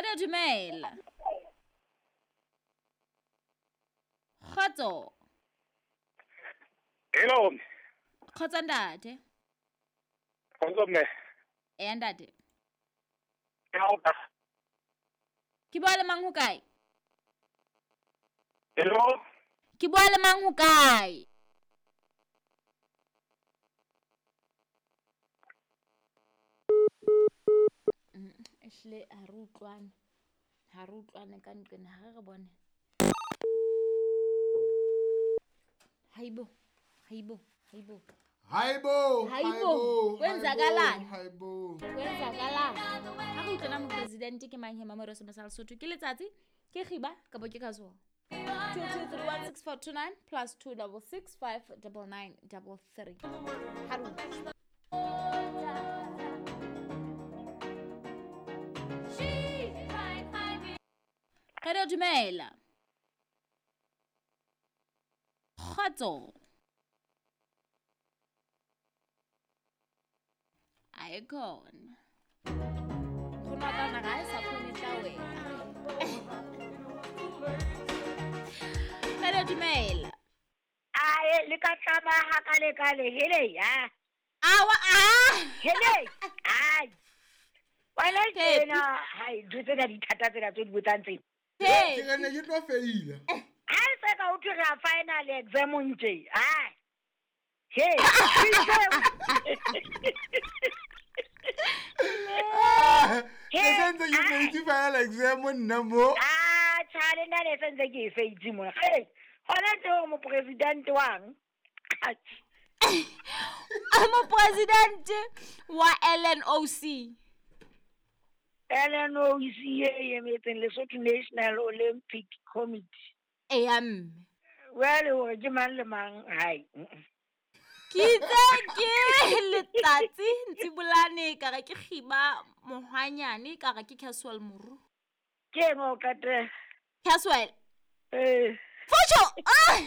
Radio dumela. Kgotso. Hello. Kgotso ntate. Kgotso mme. Eya ntate. Ke Ke bua le mang ho kae? Hello. Ke bua le mang ho kae? Ehlile ha re utlwane. Ha re utlwane ka nqena ha re re bone. Hayibo. Hayibo. Hayibo. Hayibo. Hayibo. Kwenzakalani? Hayibo. Kwenzakalani? Ha re utlwana mopresidente ke mang he Mamoreo Semasa Lesotho ke letsatsi ke kgiba kapa ke kasoa. 22316429 plus 266599933. Ha re utlwe. Radio dumela. Kgotso. Ayikhona. Nkgono wa ka ona ga e sa kgone tla wena. Radio dumela. Ae le ka tlama ha ka le ka le hele ya. Awa a. Hele. Ai. Wena tsena hai ntho tsena di thata tsena tse di botsang tsena. Ke re ne ke tlo feila. Ha e se ka ho thwe re a final exam ntje. Ai. He. Ke sentse ke feitse final exam nna mo. Ah, cha le nna ne sentse ke e feitse mona. Hey, hona tse hore mopresidente wang. Mopresidente wa LNOC. LNOC e emetseng Lesotho National Olympic Committee. Eya mme. Well, hore ke mang le mang hai. Ke itse ke letsatsi Ntsibolane ka re ke kgiba mohwanyane ka re ke Caswell Moru. Ke eng o qetela? Caswell. Eh. Fojo. Ah!